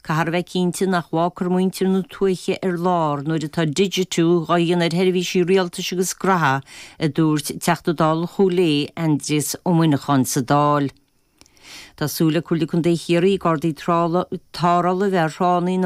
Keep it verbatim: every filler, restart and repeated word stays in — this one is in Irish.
Caithfear a bheith cinnte nach bhfágfar muintir na tuaithe ar lár nuair atá digitiú á dhéanamh ar sheirbhísí rialtais agus graithe, a dúirt Teachta Dála Chúil Aodha Aindrias Ó Muineacháin sa Dáil. Tá súil ag Comhairle Contae Chiarraí Gardaí Tarrthála a bheith ar thránna